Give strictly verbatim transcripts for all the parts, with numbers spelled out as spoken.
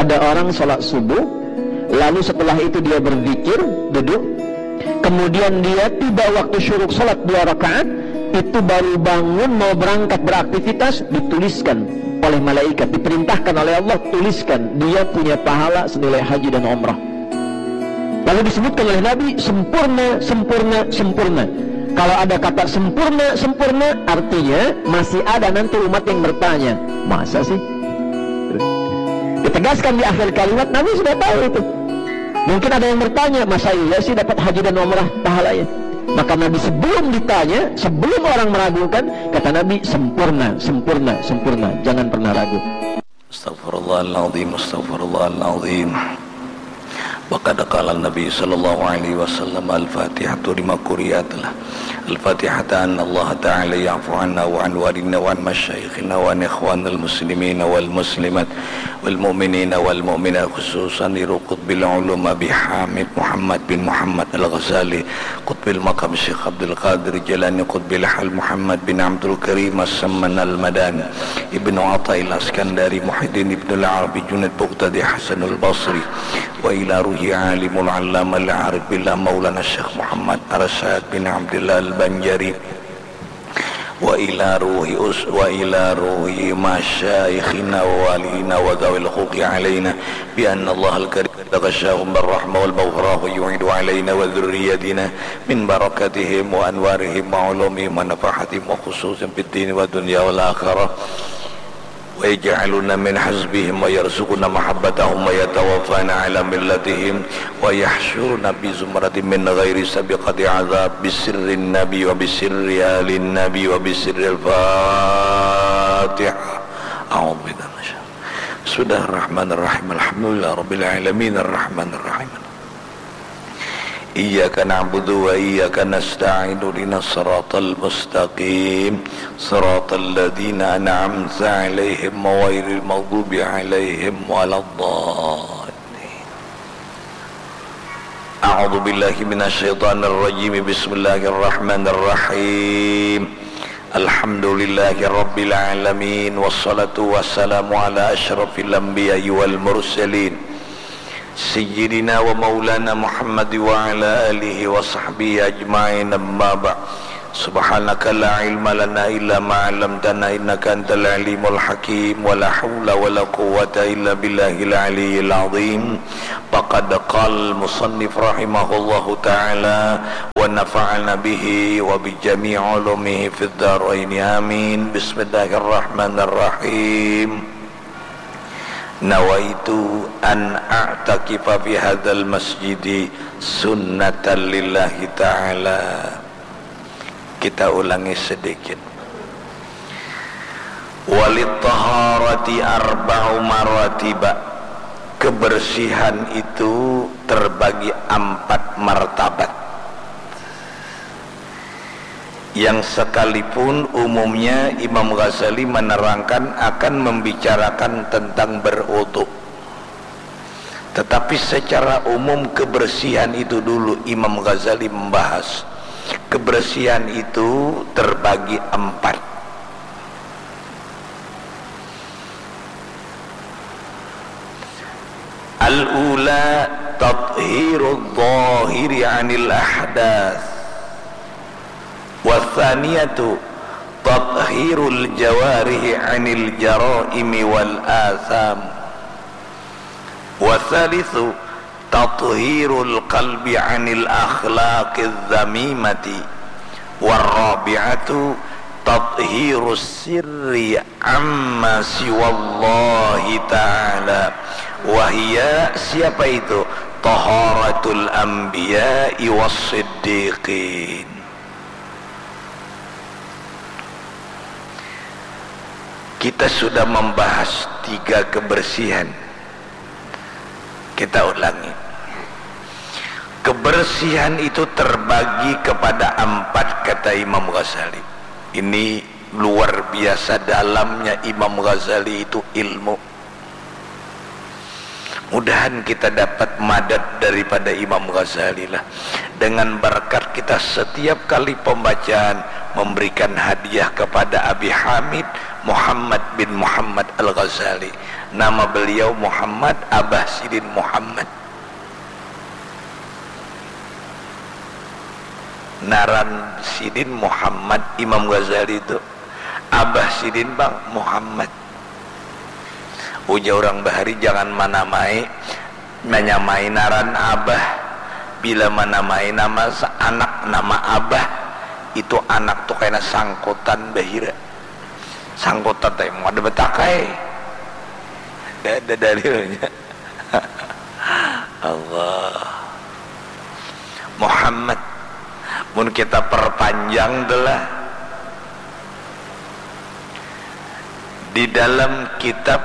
Ada orang sholat subuh, lalu setelah itu dia berzikir, duduk, kemudian dia tiba waktu syuruk sholat dua rakaat, itu baru bangun mau berangkat beraktivitas, dituliskan oleh malaikat, diperintahkan oleh Allah, tuliskan, dia punya pahala senilai haji dan umrah. Lalu disebutkan oleh Nabi, sempurna, sempurna, sempurna. Kalau ada kata sempurna, sempurna, artinya masih ada nanti umat yang bertanya, masa sih? Ditegaskan di akhir kalimat, Nabi sudah tahu itu. Mungkin ada yang bertanya, masa iya sih dapat haji dan umrah pahalanya? Maka Nabi sebelum ditanya, sebelum orang meragukan, kata Nabi, sempurna, sempurna, sempurna. Jangan pernah ragu. Astaghfirullahaladzim, astaghfirullahaladzim. Wa qad qala Nabi sallallahu alaihi wasallam, al-Fatihatu lima quriat lah. Al-Fatihata an Allah Ta'ala ya'fu anna wa an walidina wa an masyayikhina wa an ikhwanil muslimina wal muslimat wal mu'minina wal mu'minat, khususan li Qutbil Ulum Abi Hamid Muhammad bin Muhammad Al-Ghazali, Qutbil Maqam Syekh Abdul Qadir Jailani, Qutbil Hal Muhammad bin Abdul Karim As-Samman Al-Madani, Ibnu Athaillah Iskandari, Muhyiddin Ibnu Al-Arabi Junaid Baghdadi Hasanul Basri, wa ila ruhi alimul allama al-arif billah Maulana Syekh Muhammad Arsyad bin Abdullah Al-Banjari, wa ila ruhi us-, wa ila ruhi masyaikhina wa waliyina wa dzawil huquqi alaina, bi anna Allahal Karim taghashahum birrahmah wal maghfirah wa yu'idu alaina wa dzurriyyatina min barakatihim wa anwarihim wa ulumihim wa nafahatihim wa khususan fid dini wa dunya wal akhirah. Wa yaj'aluna min hizbihim wa yarzuquna mahabbatahum wa yatawaffana ala millatihim wa yahsyuruna bi zumratihim min ghairi sabiqati azab, bi sirrin nabi wa bi sirri alin nabi wa bi sirril Fatihah. A'udzu billahi minasy-, Bismillahirrahmanirrahim. Alhamdulillah rabbil alamin, arrahmanirrahim. Iyyaka na'budu wa iyyaka nasta'in, ihdinas siratal mustaqim, siratal ladzina an'amta 'alaihim ghairil maghdubi 'alaihim waladdallin. A'udzu billahi minasy syaithanir rajim. Bismillahirrahmanirrahim. Alhamdulillahi rabbil alamin, wassalatu wassalamu ala asyrafil anbiya'i wal mursalin, Sayyidina wa maulana Muhammad wa ala alihi wa sahbihi ajma'in, amma ba'd. Subhanaka la ilma lana illa ma 'allamtana innaka antal alimul hakim, wa la haula wa la quwwata illa billahil aliyyil azim. Faqad qala al-musannif rahimahullahu ta'ala, wa nafa'ana bihi wa bi jami'i ulumihi fid daraini, amin. Bismillahirrahmanirrahim. Nawaitu an a'takifa fi hadzal masjidi sunnatan lillahi ta'ala. Kita ulangi sedikit. Walit taharati arba'u maratiba. Kebersihan itu terbagi empat martabat. Yang sekalipun umumnya Imam Ghazali menerangkan akan membicarakan tentang berwudu. Tetapi secara umum kebersihan itu dulu Imam Ghazali membahas. Kebersihan itu terbagi empat. Al-ula tathhirul zahiri 'anil ahdath. Wa tsaniyatu tathhirul jawarihi 'anil jaraimi wal atham. Wa tsalitsu tathhirul qalbi 'anil akhlaqiz dzamimati. Wa rabi'atu tathhirus sirri amma siwallahi ta'ala. Wa hiya, siapa itu? Taharatul anbiya'i was siddiqin. Kita sudah membahas tiga kebersihan. Kita ulangi. Kebersihan itu terbagi kepada empat, kata Imam Ghazali. Ini luar biasa dalamnya Imam Ghazali itu ilmu. Mudahan kita dapat madad daripada Imam Ghazali lah. Dengan berkat kita setiap kali pembacaan memberikan hadiah kepada Abi Hamid, Muhammad bin Muhammad Al-Ghazali. Nama beliau Muhammad, abah sidin Muhammad. Naran sidin Muhammad, Imam Ghazali tu. Abah sidin pang Muhammad. Ujar urang bahari, jangan manamai, manyamai naran abah. Bila manamai nama sa-, anak nama abah, itu anak tu kaina sangkutan bahira. Sangkutan tadi mau ada betakai. Ada, ada dalilnya. Allah. Muhammad. Mun kita perpanjang tu lah. Di dalam kitab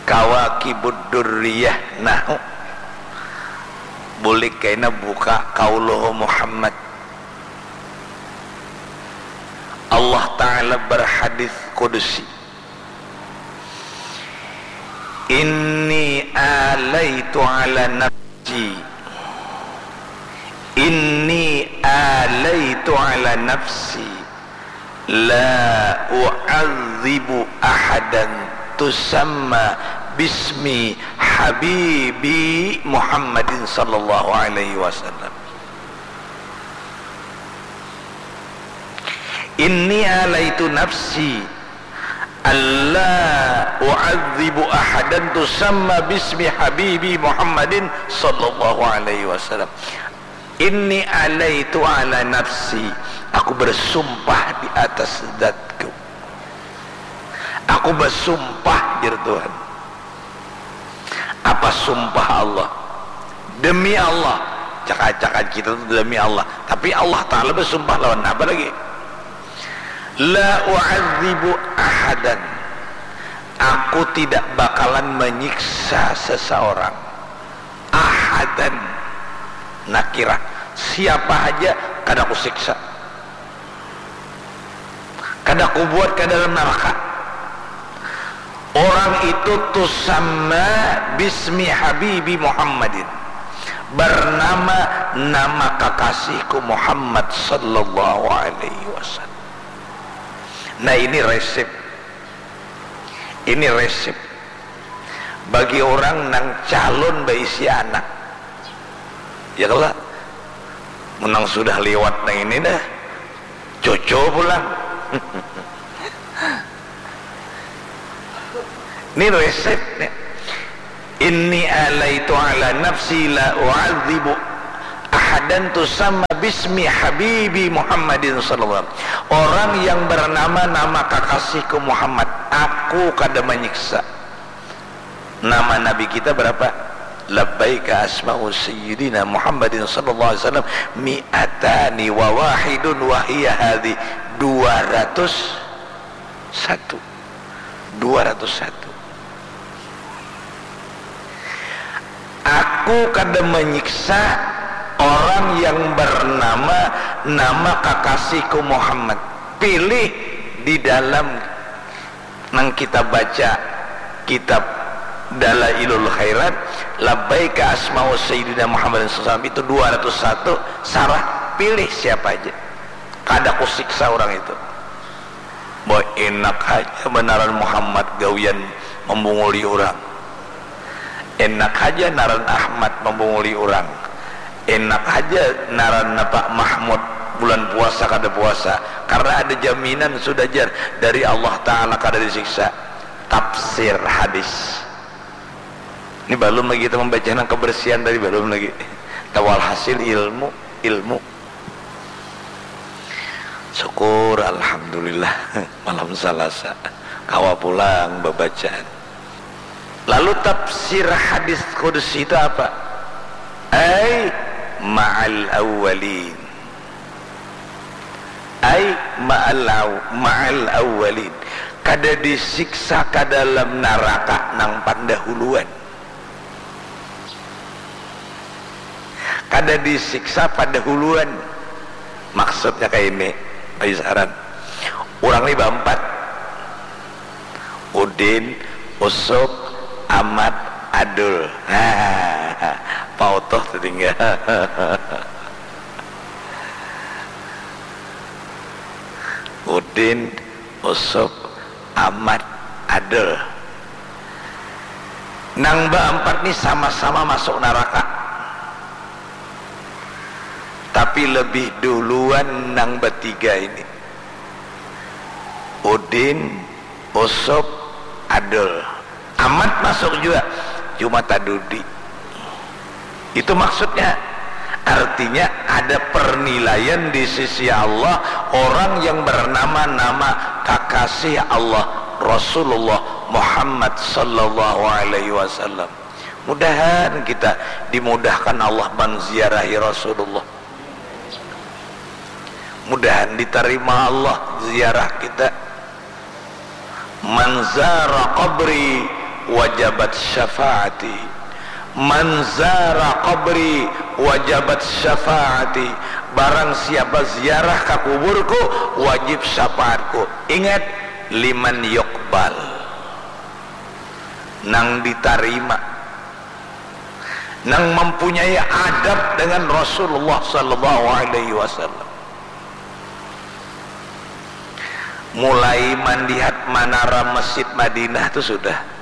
Kawakibud Durriyah, nah, bulik kaina buka Qauluhu Muhammad. Allah Ta'ala berhadis kudusi, "Inni alaitu ala nafsi, inni alaitu ala nafsi, la u'adzibu ahadan tusamma bismi habibi Muhammadin sallallahu alaihi wasallam." Inni alaitu nafsi alla u'adzibu ahadan tusamma bismi habibi Muhammadin sallallahu alaihi wasallam. Inni alaitu ala nafsi, aku bersumpah di atas zatku. Aku bersumpah, jar Tuhan. Apa sumpah Allah? Demi Allah. Cak-cakan kita tu demi Allah. Tapi Allah Ta'ala bersumpah lawan apa lagi? La u'adzibu ahadan. Aku tidak bakalan menyiksa seseorang. Ahadan. Nakirah. Siapa haja kada kusiksa. Kada kubuat ka dalam naraka. Orang itu tusamma bismi habibi Muhammadin. Bernama nama kakasihku Muhammad sallallahu alaihi wasallam. Nah, ini resep. Ini resep. Bagi orang nang calon baisi anak. Ya kalo? Mun nang sudah liwat nang ini dah. Cucu pulang. Ini resep nih. Inni alaitu ala nafsi la u'adzibu ahadan tusamma bismi habibi Muhammadin sallallahu alaihi wasallam. Orang yang bernama nama kakasihku Muhammad, aku kada menyiksa. Nama Nabi kita berapa? Labbaika asma'u Sayyidina Muhammadin sallallahu alaihi wasallam mi'atani wa wahidun wa hiya hadhi, dua ratus satu. Dua ratus satu. Aku kada menyiksa orang yang bernama, nama kakasihku Muhammad. Pilih di dalam nang kita baca kitab Dalailul Khairat, labbaika asma'u Sayyidina Muhammadin sallallahu alaihi wasallam, itu dua ratus satu, sarah, pilih siapa aja. Kada kusiksa orang itu. Boy, enak haja banaran Muhammad gawian membunguli orang. Enak haja naran Ahmad membunguli orang. Enak haja naran Pak Mahmud bulan puasa kada puasa. Karena ada jaminan sudah, jar, dari Allah Ta'ala kada disiksa. Tafsir hadis. Ini balum lagi kita membaca nang kebersihan tadi, balum lagi. Tawalhasil ilmu, ilmu. Syukur, alhamdulillah, malam Salasa kawa pulang babacaan. Lalu tafsir hadis qudsi itu apa? Ai ma'al awwalin. Ai ma'al aw-, ma'al awwalin. Kada disiksa ka dalam naraka nang pandahuluan. Kada disiksa padahuluan. Maksudnya kayak ini, Pak Yusaran. Orang ni baempat. Udin, Usuk, Amat, Adul. Pak Utuh tertinggal. Udin, Usuk, Amat, Adul. Nang baampat ni sama-sama masuk naraka. Tapi lebih duluan nang batiga ini. Udin, Usup, Adul. Amat masuk jua, cuma tadudi. Itu maksudnya. Artinya ada pernilaian di sisi Allah orang yang bernama-nama kakasih Allah Rasulullah Muhammad sallallahu alaihi wasallam. Mudahan kita dimudahkan Allah manziarahi Rasulullah. Mudahan ditarima Allah ziarah kita. Man zara qabri wajabat syafaati. Man zara qabri wajabat syafaati. Barang siapa ziarah ka kuburku, wajib syafaatku. Ingat, liman yuqbal. Nang ditarima. Nang mempunyai adab dengan Rasulullah sallallahu alaihi wasallam. Mulai mandihat manara Masjid Madinah tu sudah.